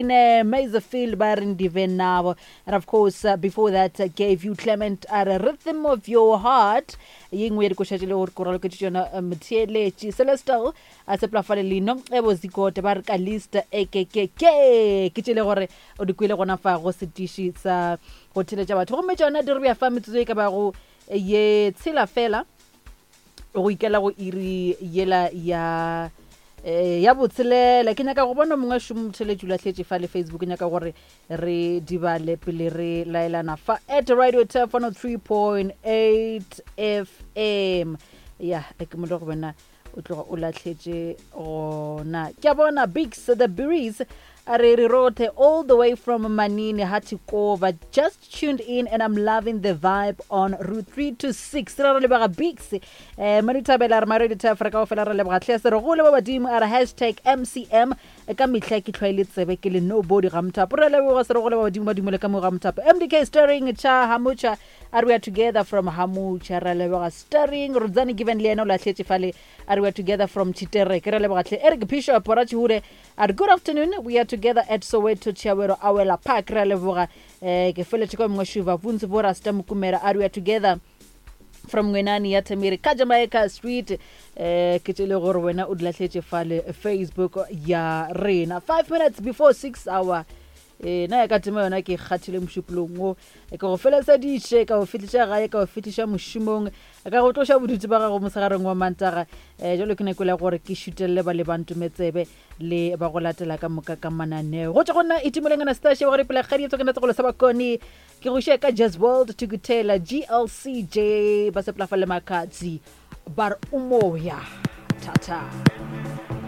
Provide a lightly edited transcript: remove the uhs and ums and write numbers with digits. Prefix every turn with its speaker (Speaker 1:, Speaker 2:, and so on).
Speaker 1: Bene Mazefield ba re Ndive Nabo. And of course, before that, gave you Clement a re Rhythm of Your Heart. Ye nngwe ya dikoša tše le gore ko raloketše tšona motheeletši Celestal a sepela fale lino e bo zikote ba re ka lista ekekeke ke tše le gore o di kwele gona fa go setiši sa go theletša batho gomme tšona di re bja fa metsotso e ka bago ye tshela fela go ikela go iri yela ya eh, ya botshelela. Ke nyaka go bona mongwe šomo motheletši o lahletše fa le Facebook, ke nyaka gore re di bale pele re laelana fa at Radio Turf 103.8 FM. Ya ke mo le go bona o tloga o lahletše gona. Ke a bona Bigs the Breeze a re re rothe all the way from Manini Hatikova, just tuned in and I'm loving the vibe on route 3 to 6. Re re leboga Bigs eh Madithabela re Maredi Tafra ka ofela re leboga hle se re gole ba badimo a re hashtag MCM ka mehla ke hlwaile tsebe ke le nobody ga mothapo. Re leboga se re gole ba badimo ba dumele ka mo ga mothapo. MDK stirring cha hamucha a re we are together from hamucha. Re leboga stirring Rudzani Given le yena o lahletše fale a re we are together from Chitereke. Re leboga hle Eric Bishop Rachihure A re, Good afternoon, we are together at Soweto Chiawero Awela Park. Re a leboga. Eh, ke feletše kwa mongwe Shuva Vuntsi bo Rasta Mokumera. A re, we are together from Ngwenani ya Thamiri ka Jamaica Street. Eh, ke tšele gore wena o di lahletše fale Facebook ya rena. 5 minutes before 6 hour. Eh, na ya ka tema yona ke kgathile mošupolong wo. Ke go feleseditše, ka go fihliša gae, ka go fihliša mošomong, ka go tloša bodutu ba gago mosegareng wa Mantaga. Um jalo ke nako ya gore ke šutelele ba lebantometsebe le ba go latela ka moka ka mananeo. Go tšwa go nna Itumeleng Anastasia wa go repela kgadi ya tsokana tsogolo sa bakone. Ke go šia ka Jazz World Tukutela GLCJ ba sepela fa le Makatsi ba re umoya. Thata.